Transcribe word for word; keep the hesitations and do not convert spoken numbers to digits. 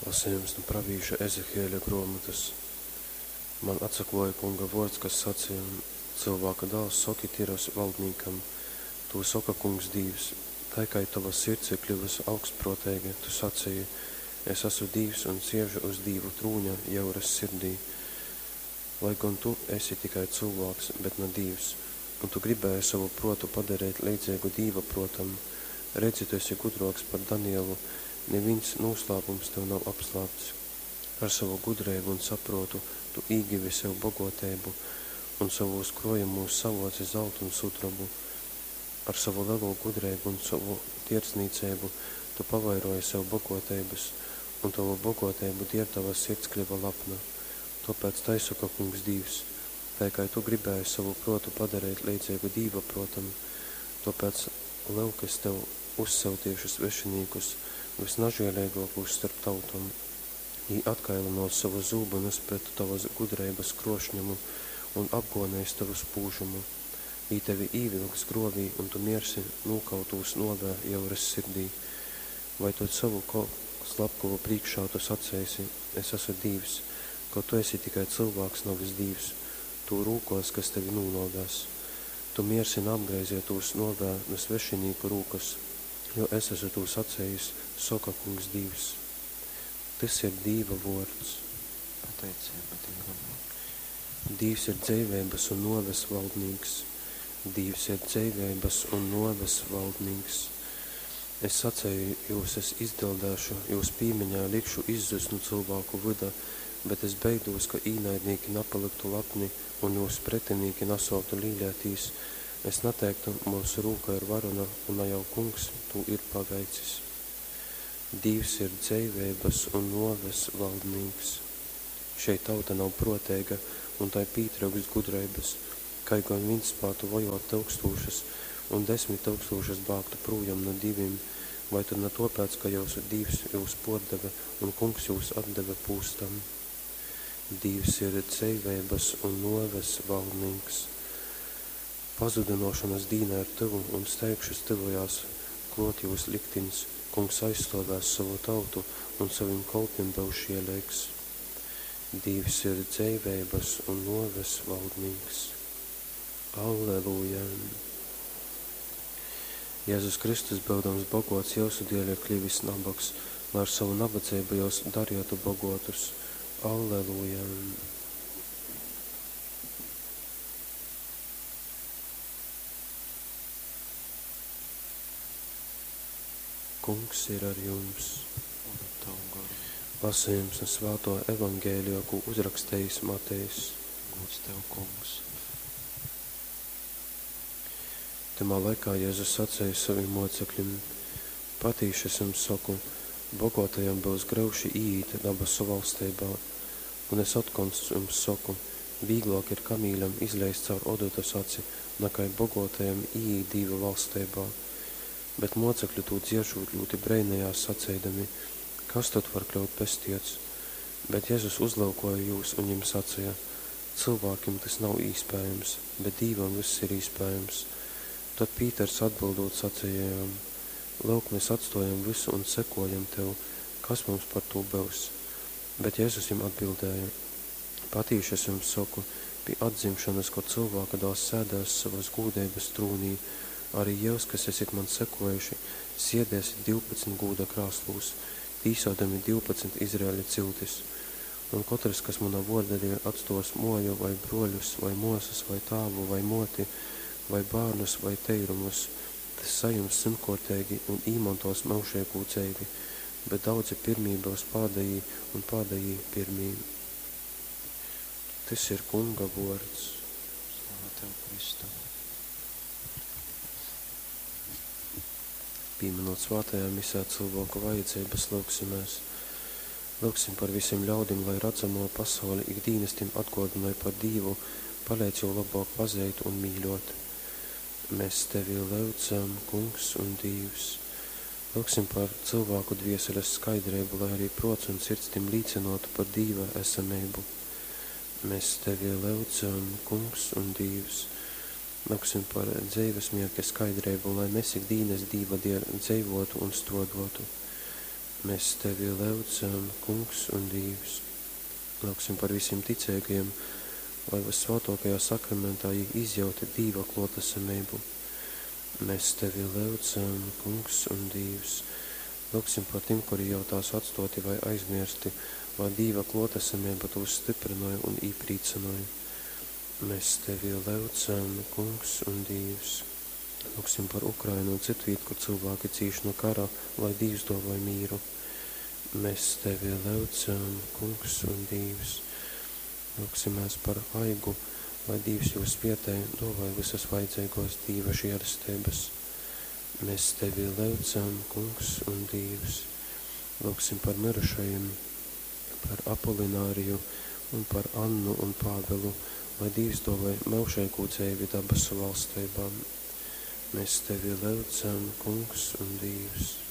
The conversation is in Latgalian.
Lasejums nu pravīša Ezehieļa gruomotys. Man atsakluoja Kunga vuords, kas saceja: Cylvāka dāls, soki Tiras valdnīkam: Tū soka Kungs Dīvs: Tai kai tova sirds ir kļuvusi augstpruoteiga, tu saceji: Es asu dīvs un siežu uz dīvu trūņa jyuras sirdī. Lai gon tu esi tikai cylvāks, bet na dīvs, un tu gribēji sovu pruotu padareit leidzeigu dīva pruotam, redzi, tu esi gudruoks par Danielu, nivīns nūslāpums tev nav apslāpts. Ar sovu gudreibu un sapruotu tu īgivi sev boguoteibu un sovūs kruojumūs savuoci zaltu un sudrobu. Ar sovu lelū gudreibu un sovu tierdznīceibu tu pavairuoji sev boguoteibys, un tovu boguoteibu dieļ tova sirds kļuva lapna. Tuopēc tai soka Kungs Dīvs: Tai kai tu gribēji sovu pruotu padareit leidzeigu dīva pruotam, tuopēc, lyuk, es tev uzsyuteišu svešinīkus, vysnažieleiguokūs storp tautom. Jī atkailynuos sovus zūbynus pret tovys gudreibys kruošņumu un apguoneis tovu spūžumu. Jī tevi īvilks gruovī, un tu miersi nūkautūs nuovē jyurys sirdī. Vai tod sovu slapkovu prīškā tu saceisi: Es asu dīvs, kaut tu esi tikai cylvāks, navys dīvs, tū rūkuos, kas tevi nūnuovēs? Tu miersi naapgraizeitūs nuovē nu svešinīku rūkys, jo es asu tū sacejis, soka Kungs Dīvs. Tys ir Dīva vuords. Pateiceiba Dīvam. Dīvs ir dzeiveibys un nuoves valdnīks. Dīvs ir dzeiveibys un nuoves valdnīks. Es saceju, jūs es izdildēšu, jūs pīmiņai likšu izzust nu cylvāku vyda, bet es beidūs, ka īnaidnīki napalyktu lapni un jūs pretinīki nasuoktu līleitīs, es nateiktu, myusu rūka ir varona un na jau Kungs tū ir paveicis. Dīvs ir dzeiveibys un nuoves valdnīks. Šei tauta nav pruoteiga, un tai pītryukst gudreibys, kai gon vīns spātu vojuot tyukstūšys, un desmit tyukstūšys bāgtu prūjom nu divim, vai tod na tuopēc, ka jyusu Dīvs jūs puordeve un Kungs jūs atdeve pūstam? Dīvs ir dzeiveibys un nuoves valdnīks. Pazudynuošonys dīna ir tyvu, un steigšus tyvojās kluot jūs liktiņs, Kungs aizstuovēs sovu tautu un sovim kolpim byus žieleigs. Dīvs ir dzeiveibys un nuoves valdnīks. Alleluja! Jezus Kristus, byudams boguots, jyusu dieļ ir klivis nabogs, lai ar sovu nabadzeibu jyus darietu boguotus. Alleluja! Kungs ir ar jums! Un ar tavu goru. Lasījums nu Svātuo Evangelija, kū uzrakstejis Matejs. Gūds tev, Kungs. Tymā laikā Jezus saceja sovim muoceklim: Patīši es jums soku, boguotajam byus gryuši īīt dabasu valsteibā. Un es otkon jums soku, vīgluok ir kamīļam izleist caur odotys aci, nakai boguotajam īīt Dīva valsteibā. Bet muocekli, tū dzieržūt, ļūti breinejās, saceidami: Kas tod var kļyut pestiets? Bet Jezus uzlyukuoja jūs un jim saceja: Cylvākim tys nav īspējams, bet Dīvam vyss ir īspējams. Tod Pīters atbyldūt saceja jam: Lyuk, mes atstuojam vysu un sekojam tev, kas mums par tū byus? Bet Jezus jim atbildēja: Patīši es jums soku, pi atdzimšonys, kod Cylvāka dāls sēdēs sovys gūdeibys trūnī, ari jyus, kas esit man sekuojuši, siedēsit divpadsmit gūda krāslūs, tīsuodami divpadsmit Izraeļa ciltis. Un kotrys, kas muna vuorda dieļ atstuos muoju, vai bruoļus, vai muosys, vai tāvu, vai muoti, vai bārnus, vai teirumus, tys sajims symtkuorteigi un īmontuos myužeigū dzeivi. Bet daudzi pyrmī byus pādejī, un pādejī pyrmī. Tys ir Kunga vuords. Slava tev, Kristu! Pīminūt svātajā misē cylvāku vajadzeibys, lyugsimēs. Lyugsim par vysim ļaudim, lai radzamuo pasaule ik dīnys tim atguodynoj par Dīvu, paleidz jū lobuok pazeit un mīļuot. Mes tevi lyudzam, Kungs un Dīvs. Lyugsim par cylvāku dvieseles skaidreibu, lai ari pruots un sirds tim līcynuotu par Dīva esameibu. Mes tevi lyudzam, Kungs un Dīvs. Lyugsim par dzeives mierķa skaidreibu, lai mes ik dīnys Dīva dieļ dzeivuotu un struoduotu. Mēs Tevi lyudzam, Kungs un Dīvs. Lūgsim par visiem ticīgajiem, lai Vyssvātōkajā sakramentā jī izjauta Dīva klōtesameibu. Mēs Tevi lyudzam, Kungs un Dīvs. Lūgsim par tim, kuri jau tās atstoti vai aizmirsti, lai Dīva klōtesameiba tūs styprynoj un īprīcynoj. Mēs Tevi lyudzam, Kungs un Dīvs. Lūgsim par Ukrainu un citvīt, kur cilvēki cīš no kara, lai Dīvs dōvoj mīru. Mēs Tevi lyudzam, Kungs un Dīvs. Lūgsimēs par Aigu, lai Dīvs jū svietej, dōvoj visas vajadzīgos Dīva žēlestības. Mēs Tevi lyudzam, Kungs un Dīvs. Lūgsim par mirušajiem, par Apolināriju un par Annu un Pāvelu, lai Dīvs dōvoj myužīgu dzeivi dabasu valstībā. Mēs Tevi lyudzam, Kungs un Dīvs.